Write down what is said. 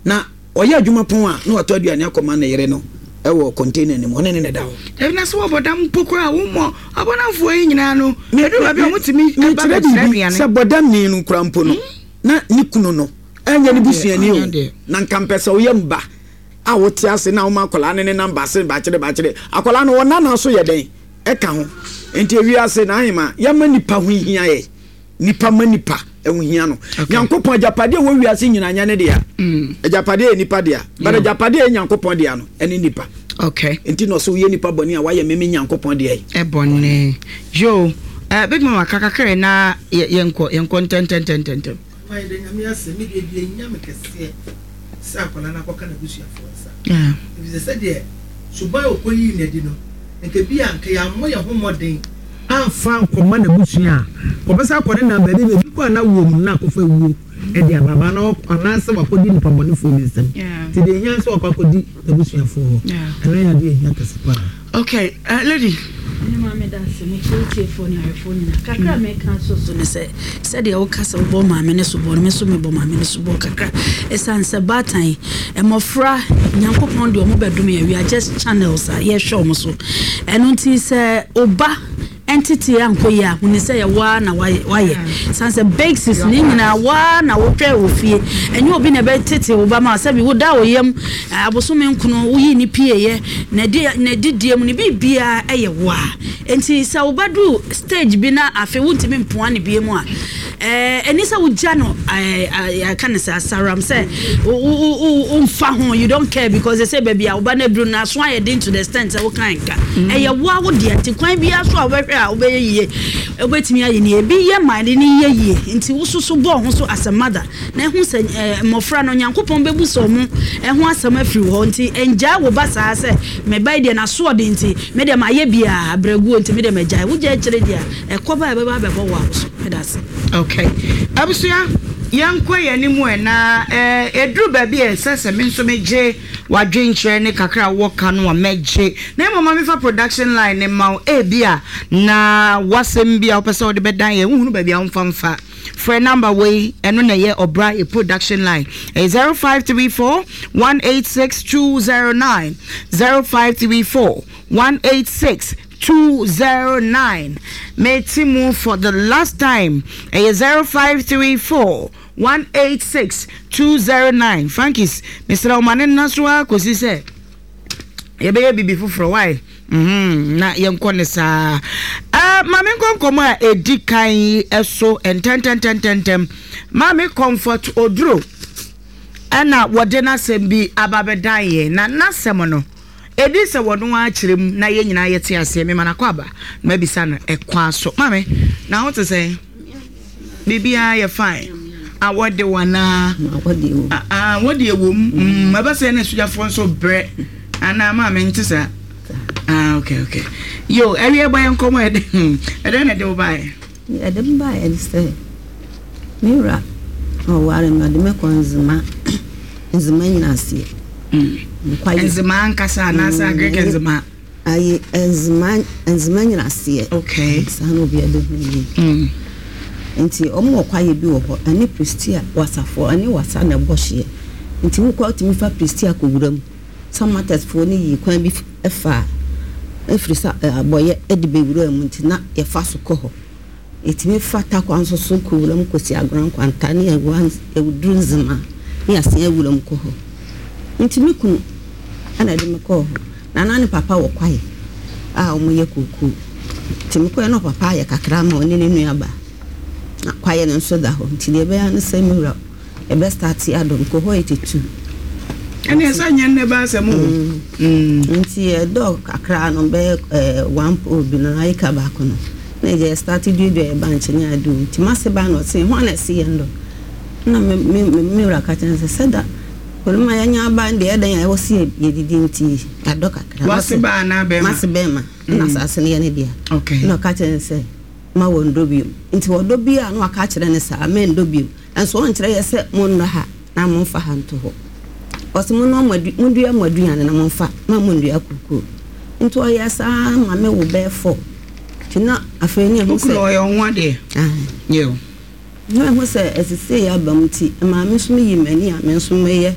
Na ɔyɛ adwuma pɔn a, na watɔ aduane akɔma ne yere no wɔ container no mu, ɔne ne na ɛda hɔ. Dabi, na sɛ wɔbɔ dam mpo koraa a, wommɔ abɔdamfoɔ yi nyinaa no, ɛduru baabi a wɔtumi ba Mekyerɛ bɛkyerɛ biribi, aduane. sɛ bɔdamni no koraa mpo no, na ne kunu no ɛnyɛ ne busuani o, na nka mpɛ sɛ woyɛ mba a wote ase na woma akwadaa no ne nam baase bakyere bakyere, akwadaa no wɔn nana so yɛ dɛn ɛka ho. Nti ewiase na ahema yɛma nipa ho hia yɛ. Nipa ma nipa ɛho hia no. Nyankopɔn agyapadeɛ wɔ wiase nyina nyɛ ne dea. Agyapadeɛ yɛ nipa dea. But agyapadeɛ yɛ Nyankopɔn dea no ɛne nipa. Okay. Nti na ɔsɛ woyɛ nipa bɔne a wayɛ meme Nyankopɔn dea yi. Ɛbɔne. Yo, Big Mama kakakra na yɛnkɔ yɛnkɔ ntɛntɛntɛntɛm. Papa yɛda Nyame ase, me deɛ deɛ ɛhia me kɛseɛ sɛ akwadaa no akɔka n'abusuafoɔ nsa, efisɛ sɛdeɛ suban a ɔkɔyii no adi no, nka bi a nka yɛammɔ yɛn ho mmɔden amfa ankɔma n'abusua a, ɔbɛsan akɔ ne nam baabi, baabi kɔ a na wuo mu no na akɔfa wuo de aba aba na anaasɛ wakɔdi nnipa bɔnefoɔ bi nsam. Nti deɛ ɛhia ne sɛ wakɔ akɔdi n'abusuafoɔ hɔ. Ɛno yɛ adeɛ a ɛhia kɛse paa. Okay, lady. Me maame meda ase, mekyia atiefoɔ ne ahwɛfoɔ nyinaa. Kakra a meka ato so ne sɛ, sɛdeɛ woka sɛ wobɔ maame no soboɔ no, me nso mebɔ maame no soboɔ kakra. Ɛsiane sɛ baatan, mmɔfra, Nyankopɔn de wɔn bɛdom yɛn, we are just channels a yɛhwɛ wɔn so. Ɛno nti sɛ wo ba ntetee ankɔ yie a, huni sɛ yɛ wo ara na wayɛ. Ɛsiane sɛ basis ne nyinaa wo ara na wohwɛ wɔ fie. Ɛnyɛ obi na ɛbɛtete wo ba ma sɛbi woda wo yam abosome nkono, woyii ne pieeɛ, n'adidie mu, ne biribiara yɛ wo ara. Enti sɛ wo ba duru stage bi na afei wontumi mpoa no bio mu a, ɛni sɛ wogya no yɛka no sɛ asaram sɛ womfa ho, you don't care because they say baabi a wo ba no aduru no aso ayɛ den to the extent sɛ woka nka. Ɛyɛ wo ara wo dea nti kwan biara so a wobɛhwɛ a wobɛyɛ yie, wobɛtumi ayɛ no yie. Ebi yɛ ma ade no yɛ yie nti wo nso so bɔ wo ho so as a mother na hu sɛ mmɔfra no Onyankopɔn bɛbu sɛ wɔn ho asɛm afiri wo hɔ nti ngyae wo ba saa sɛ me ba yi deɛ n'asoɔden nti me deɛ mayɛ biara abrɛguo nti me deɛ magyae. Wogyae akyire deɛ a ɛkɔba a ɛbɛba abɛbɔ wo awoso. Meda ase. Okay. Abusua, yɛnkɔ yɛn anim ɛ na ɛduru baabi a ɛsɛ sɛ me nso megye w'adwenkyerɛ ne kakra a wowɔ ka no a mɛgye. Na mmom ma memfa production line no mma wo. Ebia na w'asɛm bi a wopɛ sɛ wode bɛdan yɛn, wohunu baabi a womfa mfa. Frɛ number wei, ɛno na ɛyɛ ɔbra yɛ production line. Ɛyɛ 0534 186 209, 0534 186 209. Mete mu for the last time. Ɛyɛ 0534 186 209. Frankis, mesrɛ wo ma ne nna so ara kɔsi sɛ yɛbɛyɛ biribi foforɔ why? Mm-hmm. Na yɛnkɔ ne saa. Maame nkɔ nkɔmɔ a ɛdi kan yi so ntɛntɛntɛntɛntɛm. Maame Comfort Oduro ɛna wɔde n'asɛm bi aba bɛdan yɛn na n'asɛm no ɛdi sɛ wɔn akyerɛ mu na yɛn nyinaa yɛte aseɛ. Mema no akɔ aba na mabisa no ɛkwan so. Maame, na ho te sɛn? Biribiara yɛ fine. Awɔ de wo anaa? Awɔ deɛ wɔ mu. Ɛbɛ sɛ na sogyafoɔ nso brɛ anaa maame nte saa? Ah, okay, okay. Yo, ɛwiɛ bɔ yɛn nkɔmɔ ɛdɛ. Ɛdɛ na ɛde wo baeɛ? Ɛde me baeɛ ne sɛ me wura na ɔware me, ɔde me kɔ Nzema, Nzema nyina aseɛ. Nkwaye. Nzema ankasa anaasɛ Agric Nzema? Ayi nzema nzema nyina aseɛ. Okay. Saa na obiara bɛhu yie. Nti wɔn wɔ kwaeɛ bi wɔ hɔ ɛne Prestea wasafoɔ ɛne wasa na ɛbɔ hyeɛ. Nti wokɔ wotumi fa Prestea kɔ wura mu. Samatex foɔ no yii kwan bi faa ɛfiri sa abɔyɛ de bɛwuraa mu nti na yɛfa so kɔ hɔ. Yɛtumi fa Tarkwa nso so kɔ wuram kɔsi Agona Nkwanta ne yɛduru Nzema ne yɛasan awura mu kɔ hɔ. Nti me kunu na ɛde me kɔɔ hɔ. Na na ne papa wɔ kwae a wɔyɛ kookoo. Nti mekɔɛ na ɔpapa ayɛ kakra ma ɔne ne nuabaa. Na kwaeɛ no nso da hɔ. Nti deɛ ɛbɛyɛ ara ne sɛ me wura Yɛbɛ starte adɔ mekɔ hɔ 82. Ɛne ɛsɛ nyɛ nnɛ ba asɛm o. Nti yɛdɔ kakra no bɛyɛ one pole bi no acre baako no na yɛ starte duadua yɛ bankye ne ade o. Nti m'ase ba na ɔse hwan na ɛse yɛn dɔ? Na me me me wura ka kyerɛ no sɛ sɛda Koroma yɛnya aba no deɛ ɛdɛn a ɛwɔ se yɛdidi nti yɛadɔ kakra. W'ase ba anaa bɛrima? M'ase bɛrima na asase no yɛ ne dea. Okay. Na ɔka kyerɛ no sɛ ma wɔndɔ bio. Nti wɔdɔ bio a na waka akyerɛ no saa mɛndɔ bio. Nanso ɔnkyerɛ yɛ sɛ monnɔ ha na momfa ha nto hɔ. Ɔse monnoa mo adu mondua mo aduane na momfa ma monnua kookoo. Nti ɔyɛɛ saa ma me wo bɛyɛ four. Nti na afei ne ɛhu sɛ. Wo kunu ɔyɛ wo ho adeɛ? Ae. Yiw. Na ɛhu sɛ ɛsesei aba mu nti ɛmaa me nso meyii m'ani a me nso meyɛ.